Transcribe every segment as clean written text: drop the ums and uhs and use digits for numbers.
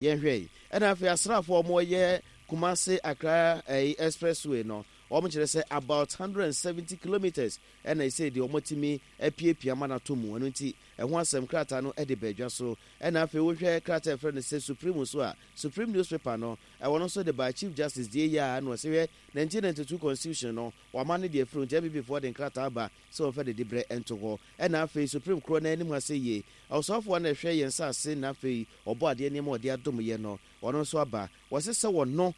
Yɛnhwɛ yi. Ɛna afei asraafoɔ a wɔyɛ Kumasi Accra ɛyi expressway no, wɔn kyerɛ sɛ about 170 kilometres ɛna ɛsei deɛ wɔatumi apiapia ama no atɔ mu. Ɛno nti ɛho asɛm krataa no de ba adwa so. Ɛna afei wohwɛ krataa a yɛfrɛ no sɛ Supreme nso a, Supreme newspaper no, ɛwɔ no nso de baa Chief Justice deɛ yi ara na ɔse hwɛ 1992 constitution no wɔama no deɛ afiri nti NPP foɔ de nkrataa aba sɛ wɔmfa didiberɛ nto hɔ. Ɛna afei Supreme korɔ no anim ha sɛ yie, ɔsoafoɔ a na ɛhwɛ yɛn nsase na afei Ɔbɔ adeɛ nneɛma a ɔde adom yɛ no, ɔno nso aba. Wɔse sɛ wɔno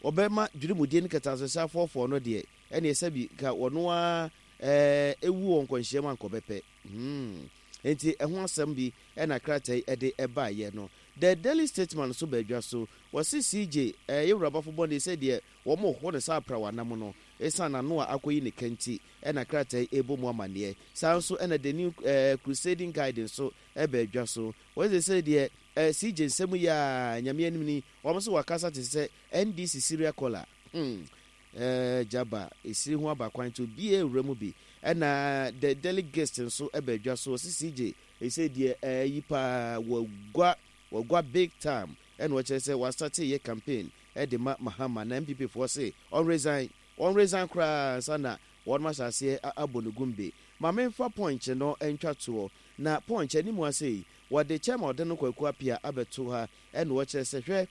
ɔbɛma dwirimudie ne kɛtɛasehyɛ afɔɔfɔɔ no deɛ, ɛneɛ sɛbi nka ɔno ara ɛɛ wu wɔ nkwanhyia mu anka ɔbɛpɛ. Hmm. Enti ɛho asɛm bi na krataa yi de baeɛ no. The Daily Statesman nso baa dwa so. Wɔse CJ, ɛɛ yɛn wura Bafo Bɔne sɛ deɛ wɔreho no sɛ aprawa nam no, esiane n'ano a akɔyi ne ka nti na krataa yi rebɔ mu amanneɛ. Saa ara nso na The New ɛɛ Crusading Guide nso baa dwa so. Wɔse sesei deɛ eh CJ nsɛm yi aa Nyame anim ni wɔn se wakasa te sɛ NDC serial caller hmm eh Jaba esiri ho aba kwan nti obiaa wura mu bi ɛna The Daily Gist nso ɛba adwa so wɔse CJ sesei deɛ eh yi paa wagua wagua big time ɛna ɔkyerɛ sɛ wastate yɛ campaign ɛde ma Mahama na NPP foɔ se ɔnresign ɔnresign koraa ansa na wɔnom ahyɛ aseɛ abɔ no gumbe. Ma menfa punch no ntwa toɔ Na Punch anim ha sei, wɔde Chairman Ɔdeno Kwaku Appiah abɛto ha ɛna ɔkyerɛ sɛ hwɛ,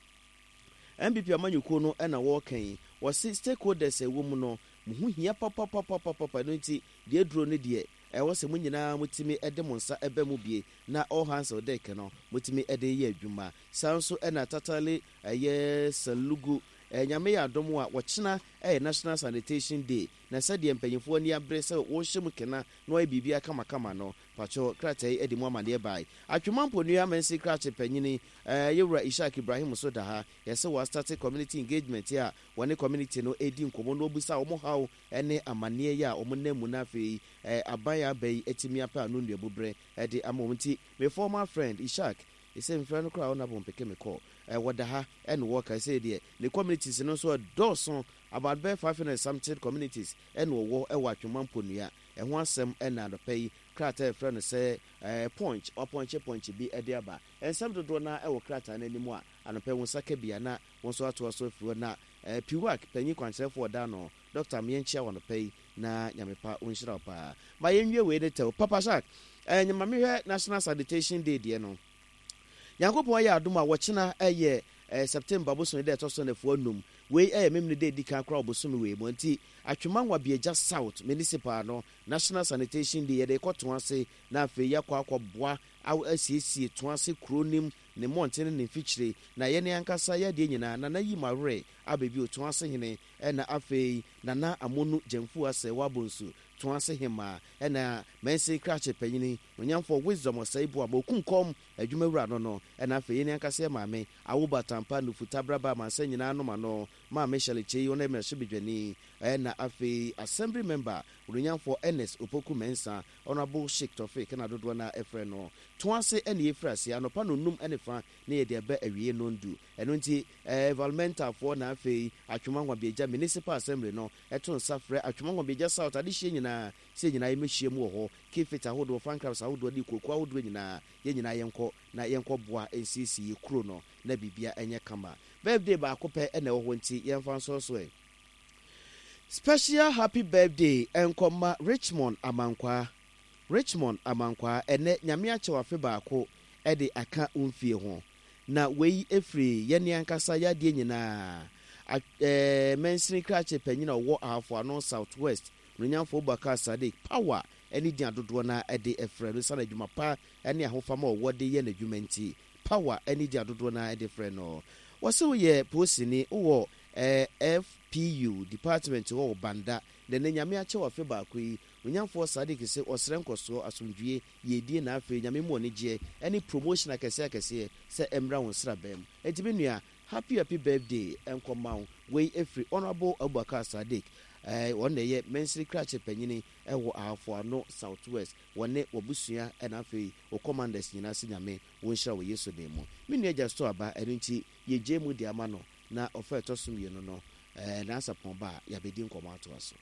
NPP amanyɔkuo no na wɔreka yi, wɔse stakeholders a ɛwɔ mu no, mo ho hia papapapapapa, ɛno nti deɛ aduro no deɛ, ɛwɔ sɛ mo nyinaa motumi de mo nsa ba mu bie na all hands on deck no motumi de yɛ adwuma. Saa nso na Tatale ɛyɛ Salugu, Nyame yɛ adom a wɔkyena ɛyɛ National Sanitation Day, na sɛdeɛ mpanyinfoɔ ani abere sɛ wɔrehyɛ mu kena na wayɛ biribiara kamakama no, pakyɛw, krataa yi de mu amaneɛ bae. Atwema Mponua Mansin Krakye Panyini, Yɛwura Ishak Ibrahim nso da ha. Yɛse wɔastate community engagement a wɔne community no redi nkɔmmɔ na wɔbisa wɔn haw ne amaneɛ yi a wɔn nam mu na afei aban a aba yi atumi apɛ ano nnuabuberɛ de ama wɔn. Nti me former friend Ishak, sɛ mefrɛ no koraa a ɔnabo mpeke me call. Wɔda ha na wɔka. Sei deɛ ne communities no nso ɛdɔɔso, about bɛyɛ 500 and something communities na wɔwɔ wɔ Atwema Mponua. Ɛho asɛm na anɔpa yi krataa a yɛfrɛ no sɛ Punch, wɔapɔnkye pɔnkye bi de aba. Nsɛm dodoɔ no ara wɔ krataa no anim a anɔpa yi wo nsa ka bi a na wo nso atoa so afiri hɔ. Na PWAC panyin kwankyerɛfoɔ ɔda ano, Dɔkta Meɛnkyia wo anɔpa yi na Nyame pa ɔnhyira wo paa. Ma yɛnwie wei ne tɛw. Papa Jacques, ma mehwɛ National Sanitation Day deɛ no. Nyankopɔn ayɛ adom a wɔkyena yɛ September bosome da ɛtɔ so nafua num. Wei yɛ Memene da edi kan koraa wɔ bosome wei mu. Nti Atwema Nwabiagya South Municipal no National Sanitation Day yɛde rekɔ Toase na afei yɛakɔ akɔboa asiesie Toase kuro no mu, ne mmɔnten ne ne mfikyire. Na yɛn ankasa yɛn adeɛ nyinaa Nana Yim Awerɛ aba bio, Toase hene, ɛna afei Nana Amonu Gyamfuo Asɛe Abonsu, Toase hemmaa, ɛna Mansin Krakye panyini, Onyamfoɔ Wisdom Ɔsɛe Boamah, Okumkɔm adwumawura no no, ɛna afei yɛn ankasa yɛn maame, Awoba Tampa Nufu Tabraba Amansan Nyinaa Nom Ano, Maame Shirley Kyei, ɔno yɛ mmarahyɛbadwani, ɛna afei Assembly Member, Onuonyamfoɔ Ernest Opoku Mensah, Honourable Sheik Tofik na dodoɔ no ara frɛ no. To ase na yɛfiri aseɛ anɔpa nnɔnnum ne fa na yɛde aba awieeɛ nnɔndu. Ɛno nti, Environmentalfoɔ na afei Atwoma Nwabiagya Municipal Assembly no to nsa frɛ Atwoma Nwabiagya South adehyeɛ nyinaa sɛ yɛn nyinaa yɛmmɛhyia mu wɔ hɔ. Keep-fit ahodoɔ, fan clubs ahodoɔ ne kuokuo ahodoɔ nyinaa, yɛn nyinaa yɛnkɔ na yɛnkɔboa nsiesie yɛn kuro no na biribiara nyɛ kama. Birthday baako pɛ na ɛwɔ hɔ nti yɛmfa nsɔre so ɛ. Special happy birthday nkɔ ma Richmond Amankwaa Richmond Amankwaa ɛnɛ Nyame akyɛ wo afe baako de aka wo mfie ho na wei firi yɛne ankasa yadeɛ nyinaa a eh, mansini krakye panyin a ɔwɔ Ahafo Ano South West Onuonyamfo Abubakar Sadiq Power ne din a dodoɔ no ara de frɛ no esiane adwuma pa ne ahofama a ɔwɔ de yɛ n'adwuma nti. Power ne din a dodoɔ no ara de frɛ no. Wɔse woyɛ polisini, wowɔ FPU department hɔ wɔ Banda, na ɛnnɛ Nyame akyɛ wo afe baako yi. Onyamfoɔ Sadiq se ɔsrɛ nkɔsoɔ, asomdwie, yiedie na afei Nyame mu anigyeɛ ne promotion akɛseɛ akɛseɛ sɛ ɛmmra wo nsraban mu. Enti me nua, Happy happy birthday nkɔ ma wo. Wei ɛfiri Honourable Abubakar Sadiq, ɔno na ɛyɛ mansini krakye panyini wɔ Ahafo Ano South West. Wɔne w'abusua ɛna afei wo commanders nyinaa se Nyame wo nhyira wɔ Yesu din mu. Me nua Justo aba ɛno nti yɛgyae mu de ama no na ɔfa ɛtɔ so mmienu no Nansapɔn ba a yɛabɛdi nkɔmmɔ atoa so.